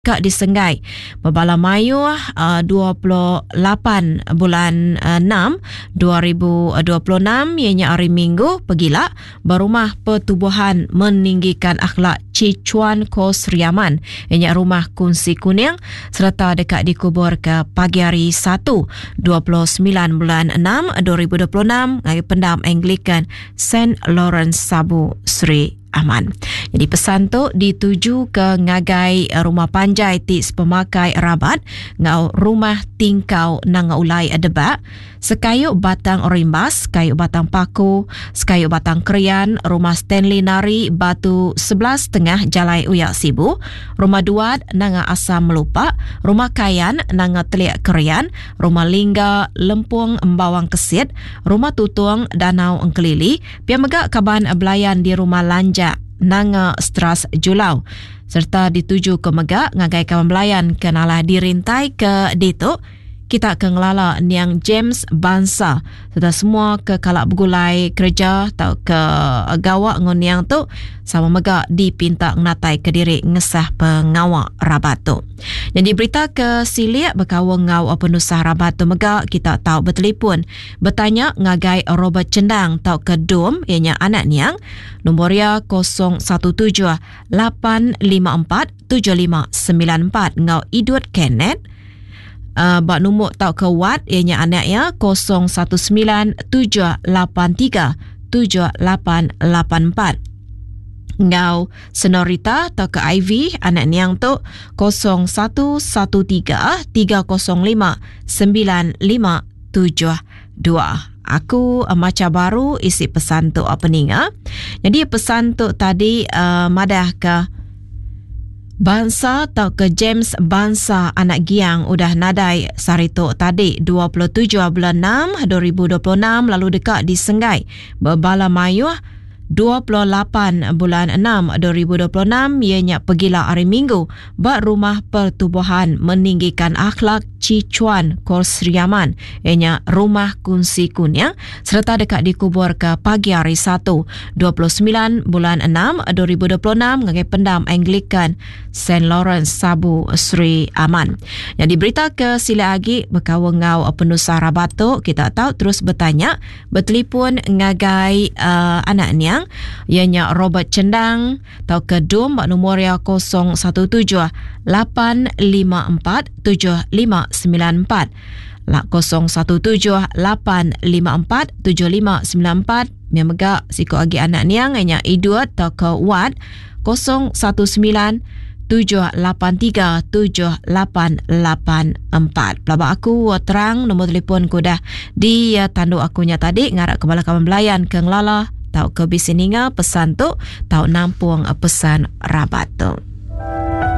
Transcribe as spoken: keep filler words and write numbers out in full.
Ka disenggai bebala mayuh dua puluh lapan bulan enam dua ribu dua puluh enam iya nya hari Minggu pegila ba Rumah Pertubuhan Meninggikan Akhlak Chichuan Ko Sri Aman iya nya Rumah Kunsi Kuning sereta deka dikuburka pagi hari Satu dua puluh semilan bulan enam dua ribu dua puluh enam ngagai Pendam Anglican Saint Lawrence Sabu Sri Aman. Jadi pesan tu dituju ke ngagai rumah panjai ti sepemakai rabat ngau rumah tingkau nanga ulai debak, sekayu batang rimbas, sekayu batang paku, sekayu batang krian, rumah Stanley Nari Batu sebelas tengah Jalai Uyak Sibu, rumah Duat nanga Asam Melupa, rumah Kayan nanga Telik Krian, rumah Lingga Lempung Embawang Kesit, rumah Tutung Danau Engkelili, Pia mega kaban belayan di Rumah Lanjak Nanga Stras Julau serta dituju ke mega ngagai kaban belayan ke nalah dirintai ke ditu kita ke ngelala niang James Bansa serta semua ke kala begulai kereja tau ke gawa enggau niang tu sama mega dipinta ngenatai ke diri ngesah pengawa rabat tu. Jadi berita ke silik bekaul enggau penusah rabat tu mega kita tau betelefon betanya ngagai Robert Chendang tauka Dom iya nya anak niang nombor iya kosong satu tujuh lapan lima empat tujuh lima sembilan empat enggau Idut Kenneth uh, ba nombor tauka Wat iya nya anak iya kosong satu sembilan tujuh lapan tiga tujuh lapan lapan empat enggau Senorita tauka Ivy anak niang tu kosong satu satu tiga tiga kosong lima sembilan lima tujuh dua. Aku uh, macha baru isi pesan tu apa ninga. Jadi pesan tu tadi uh, madah ke Bansa tauka James Bansa anak Giang udah nadai sehari tu tadi dua puluh tujuh bulan enam dua ribu dua puluh enam lalu deka disenggai bebala mayuh dua puluh lapan bulan enam dua ribu dua puluh enam iya nya pegila hari Minggu ba Rumah Pertubuhan Meninggikan Akhlak Chichuan Kor Sri Aman iya nya Rumah Kunsi Kuning sereta deka dikuburka pagi hari Satu dua puluh semilan bulan enam dua ribu dua puluh enam ngagai Pendam Anglican Saint Lawrence Sabu Sri Aman. Jadi berita ke sila agi bekaul enggau penusah rabat tu kita tahu terus bertanya betelefon ngagai uh, anak niang iya nya Robert Chendang tauka Dom ba nombor iya kosong satu tujuh lapan lima empat tujuh lima sembilan empat lak kosong satu tujuh lapan lima empat tujuh lima sembilan empat. Mia mega siko agi anak niang iya nya Idut tauka Wat kosong satu sembilan tujuh lapan tiga tujuh lapan lapan empat. Pelaba aku terang nombor telefon ku dah di tandu aku nya tadi ngarap ke bala kaban belayan ke ngelala tau ke bisi ninga pesan tu tau nampung pesan rabat tu.